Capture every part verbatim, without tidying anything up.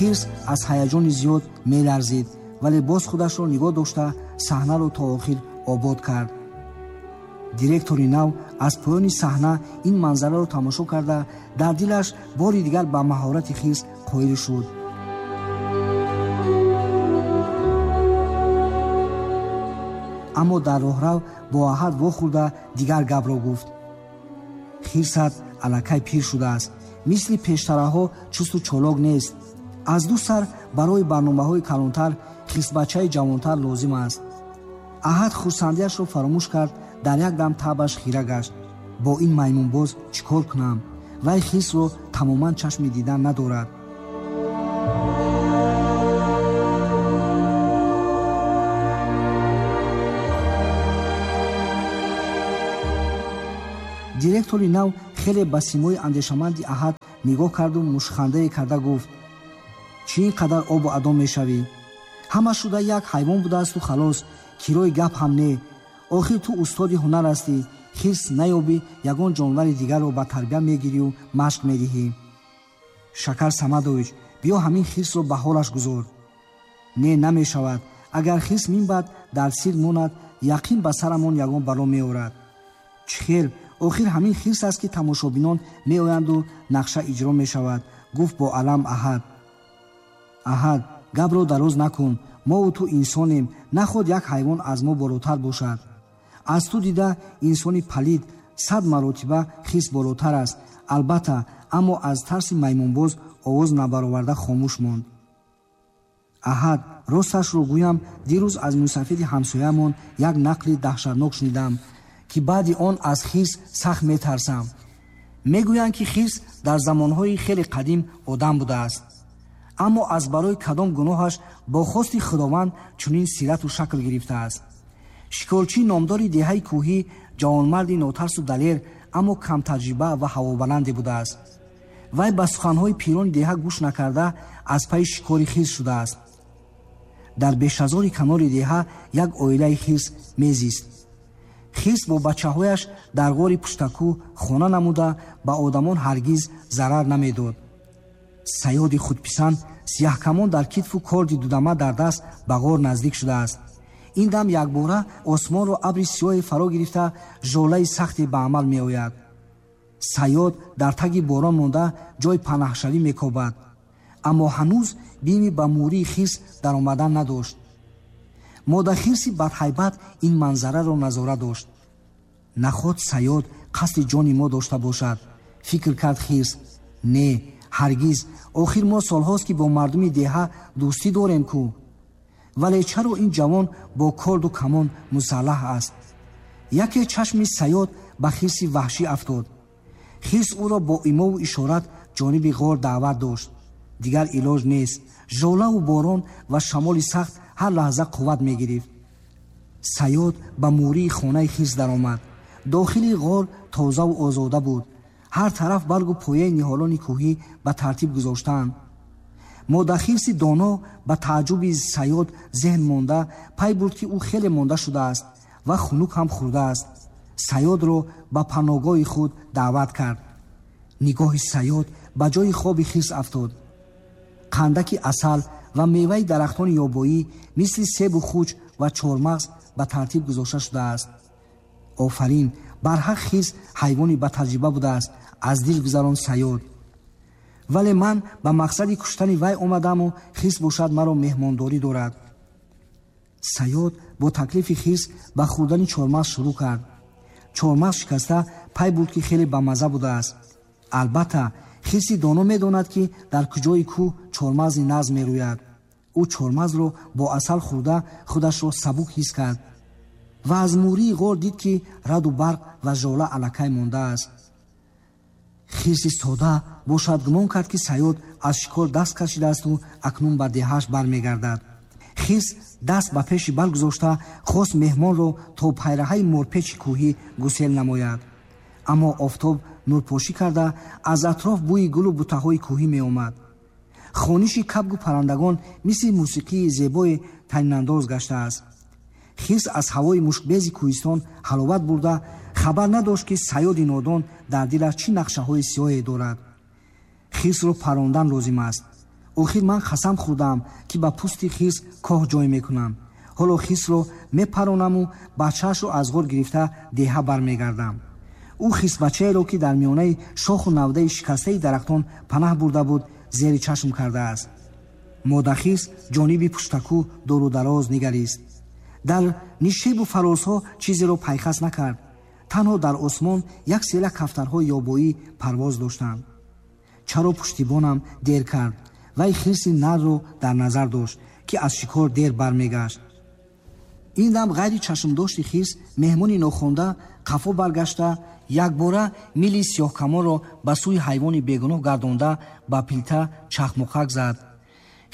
Хирс аз ҳаяҷони зиёд меларзид, вале боз худашро нигоҳ дошта саҳнаро то охир обод кард. Директори нав аз поёни саҳна ин манзараро тамошо карда, дар дилаш бори дигар ба маҳорати хирс қоил шуд. Аммо дар роҳрав бо Аҳад вохӯрда дигар гапро гуфт. Хирсат аллакай пир шудааст, мисли пештараҳо чусту чолок нест. Аз ду сар барои барномаҳои калонтар хирсбачаи ҷавонтар лозим аст. Аҳад хурсандиашро фаромӯш кард, дар як дам табаш хира гашт. Бо ин маймунбоз чӣ кор кунам? Вай хирсро тамоман чашми дидан надорад. Директори нав хеле ба симои андешаманди Аҳад нигоҳ карду мушхандае карда гуфт: чӣ ин қадар обу адо мешавӣ? Ҳама шуда як ҳайвон будаасту халос, кирои гап ҳам не. Охир ту устоди ҳунар ҳастӣ, хирс наёбӣ ягон ҷонвари дигарро ба тарбия мегирию машқ медиҳӣ. Шакар Самадович, биё ҳамин хирсро ба ҳолаш гузор. Не, намешавад. Агар хирс минбаъд дар сир монад, яқин ба сарамон ягон бало меорад. Чӣ хел? Охир ҳамин хирс аст, ки тамошобинон меоянду нақша иҷро мешавад, гуфт бо алам Аҳад. Аҳад, гапро дароз накун. Мову ту инсонем, наход як ҳайвон аз мо болотар бошад. Аз ту дида инсони палид сад маротиба хирс болотар аст. Албатта, аммо аз тарси маймунбоз овоз набароварда хомӯш монд. Аҳад, росташро гӯям, дирӯз аз мусафиди ҳамсоямон як нақли даҳшатнок шунидам, ки баъди он аз хирс сахт метарсам. Мегӯянд, ки хирс дар замонҳои хеле қадим одам будааст, аммо аз барои кадом гуноҳаш бо хости Худованд чунин сирату шакл гирифтааст. Шикорчии номдори деҳаи кӯҳӣ ҷавонмарди нотарсу далер, аммо камтаҷриба ва ҳавобаланде будааст. Вай ба суханҳои пирони деҳа гӯш накарда аз пайи шикори хирс шудааст. Дар бешазори канори деҳа як оилаи хирс мезист. Хирс бо бачаҳояш дар ғори пуштакӯ хона намуда ба одамон ҳаргиз зарар намедод. Саёди худписанд сияҳкамон дар китфу корди дудама дар даст ба ғор наздик шудааст. Ин дам якбора осмонро абри сиёҳе фаро гирифта жолаи сахте ба амал меояд. Саёд дар таги борон монда ҷой панаҳшавӣ мекобад, аммо ҳанӯз бими ба мӯрии хирс даромадан надошт. Модахирси бадҳайбат ин манзараро назора дошт. Наход саёд қасди ҷони мо дошта бошад, фикр кард хирс. Не, ҳаргиз. Охир мо солҳост, ки бо мардуми деҳа дӯстӣ дорем ку. Вале чаро ин ҷавон бо корду камон мусаллаҳ аст? Яке чашми саёд ба хирси ваҳшӣ афтод. Хирс ӯро бо имову ишорат ҷониби ғор даъват дошт. Дигар илоҷ нест. Жолаву борон ва шамоли сахт ҳар лаҳза қувват мегирифт. Саёд ба мӯрии хонаи хирс даромад. Дохили ғор тозаву озода буд. Ҳар тараф баргу пояи ниҳолони кӯҳӣ ба тартиб гузоштаанд. Модахирси доно ба тааҷҷуби саёд зеҳн монда пай бурд, ки ӯ хеле монда шудааст ва хунук ҳам хӯрдааст. Саёдро ба паноҳгоҳи худ даъват кард. Нигоҳи саёд ба ҷои хоби хирс афтод. Қандаки асал ва меваи дарахтони ёбоӣ мисли себу хуч ва чормағз ба тартиб гузошта шудааст. Офарин, барҳақ хирс ҳайвони ба таҷриба будааст, аз дил гузарон саёд. Вале ман ба мақсади куштани вай омадаму хирс бошад маро меҳмондорӣ дорад. Саёд бо таклифи хирс ба хӯрдани чормағз шурӯъ кард. Чормағз шикаста пай бурд, ки хеле бамазза будааст. Албатта, хирси доно медонад, ки дар куҷои кӯҳ чормағзи нағз мерӯяд. Ӯ чормағзро бо асал хӯрда худашро сабук ҳис кард ва аз мӯрии ғор дид, ки раду барқ ва жола аллакай мондааст. Хирси сода бошад гумон кард, ки саёд аз шикор даст кашидаасту акнун ба деҳааш бармегардад. Хирс даст ба пеши бал гузошта хост меҳмонро то пайраҳаи морпечи кӯҳӣ гусел намояд. Аммо офтоб нурпошӣ карда аз атроф бӯи гулу бутаҳои кӯҳӣ меомад. Хониши кабгу паррандагон мисли мусиқии зебои танинандоз гаштааст. Хирс аз ҳавои мушкбези кӯҳистон ҳаловат бурда хабар надошт, ки саёди нодон дар дилаш чӣ нақшаҳои сиёҳе дорад. Хирсро парондан лозим аст. Охир ман қасам хӯрдам, ки ба пӯсти хирс коҳ ҷой мекунам. Ҳоло хирсро мепаронаму бачаашро аз ғор гирифта деҳа бармегардам. Ӯ хирсбачаеро, ки дар миёнаи шоху навдаи шикастаи дарахтон панаҳ бурда буд, зери чашм кардааст. Модахирс ҷониби пуштакӯ дуру дароз нигарист. Дар нишебу фарозҳо чизеро пайхас накард. Танҳо дар осмон як села кафтарҳои ёбоӣ парвоз доштанд. Чаро пуштибонам дер кард? Вай хирси нарро дар назар дошт, ки аз шикор дер бармегашт. Ин дам ғайри чашмдошти хирс меҳмони нохонда қафо баргашта, якбора мили сиёҳкамонро ба сӯи ҳайвони бегуноҳ гардонда ба пилта чахмуқак зад.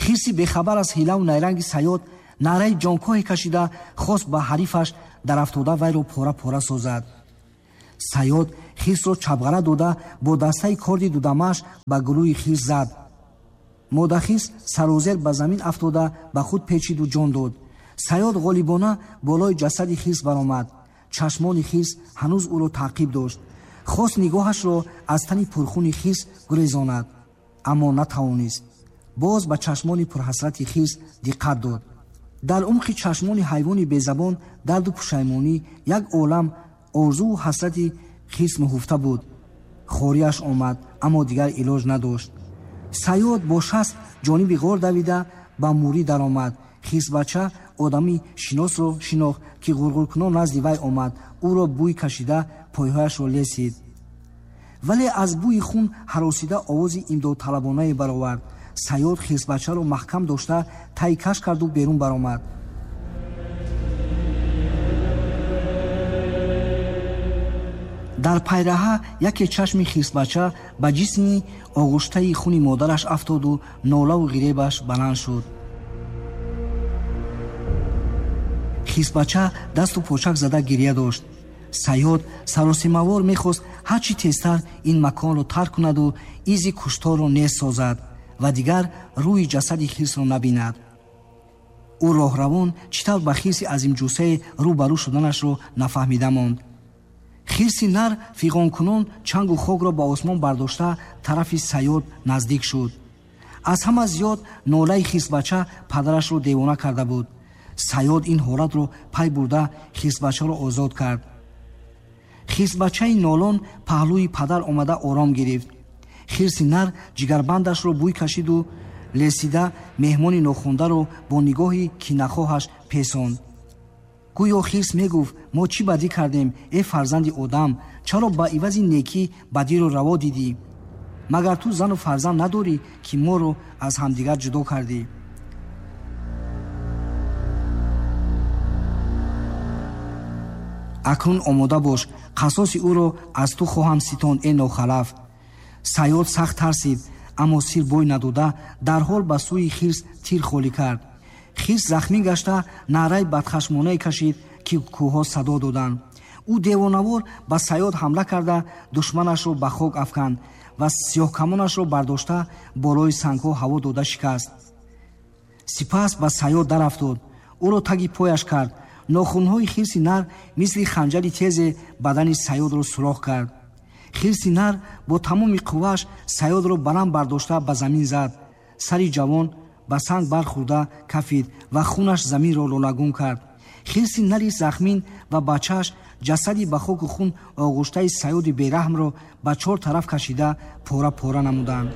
Хирси бехабар аз ҳилаву найранги Саёд наъраи ҷонкоҳе кашида хост ба ҳарифаш дарафтода вайро пора-пора созад. Саёд хирсро чабғара дода бо дастаи корди дудамааш ба гулӯи хирс зад. Модахирс сарозер ба замин афтода ба худ печиду ҷон дод. Саёд ғолибона болои ҷасади хирс баромад. Чашмони хирс ҳанӯз ӯро таъқиб дошт. Хост нигоҳашро аз тани пурхуни хирс гурезонад, аммо натавонист. Боз ба чашмони пурҳасрати хирс диққат дод. Дар умқи чашмони ҳайвони безабон дарду пушаймонӣ, як олам орзуву ҳасрати хирс муҳуфта буд. Хориаш омад, аммо дигар илоҷ надошт. Саёд бо шаст ҷониби ғор давида ба мурӣ даромад. Хирсбача одами шиносро шинохт, ки ғурғуркунон назди вай омад. Ӯро бӯй кашида пойҳояшро лесид, вале аз бӯи хун ҳаросида овози имдодталабонае баровард. Саёд хирсбачаро маҳкам дошта тай каш карду берун баромад. Дар пайраҳа яке чашми хирсбача ба ҷисми оғуштаи хуни модараш афтоду нолаву ғиребаш баланд шуд. Хирсбача дасту почак зада гирья дошт. Саёд саросимавор мехост ҳар чӣ тезтар ин маконро тарк кунаду изи кушторро нест созад ва дигар рӯи ҷасади хирсро набинад. Ӯ роҳравон чӣ тавр ба хирси азимҷусае рӯ ба рӯ шуданашро нафаҳмида монд. Хирси нар фиғонкунон чангу хокро ба осмон бардошта тарафи Саёд наздик шуд. Аз ҳама зиёд нолаи хирсбача падарашро девона карда буд. Саёд ин ҳолатро пай бурда хирсбачаро озод кард. Хирсбачаи нолон паҳлӯи падар омада ором гирифт. Хирси нар ҷигарбандашро бӯй кашиду лесида меҳмони нохондаро бо нигоҳи кинахоҳаш песонд. Гӯё хирс мегуфт: мо чӣ бадӣ кардем, э фарзанди одам? Чаро ба ивази некӣ бадиро раво дидӣ? Магар ту зану фарзанд надорӣ, ки моро аз ҳамдигар ҷудо кардӣ? Акнун омода бош, қасоси ӯро аз ту хоҳам ситонд, э нохалаф. Саёд сахт тарсид, аммо сир бой надода дарҳол ба сӯи хирс тир холӣ кард. Хирс захмӣ гашта наъраи бадхашмонае кашид, ки кӯҳҳо садо доданд. Ӯ девонавор ба Саёд ҳамла карда душманашро ба хок афканд ва сиёҳкамонашро бардошта болои сангҳо ҳаво дода шикаст. Сипас ба Саёд дарафтод, ӯро таги пояш кард. Нохунҳои хирси нар мисли ханҷари тезе бадани Саёдро сурох кард. Хирси нар бо тамоми қуввааш Саёдро баланд бардошта ба замин зад. Сари ҷавон ба санг бархӯрда кафид ва хунаш заминро лолагун кард. Хирси нари захмин ва бачааш ҷасади ба хоку хун оғуштаи Саёди бераҳмро ба чор тараф кашида пора-пора намуданд.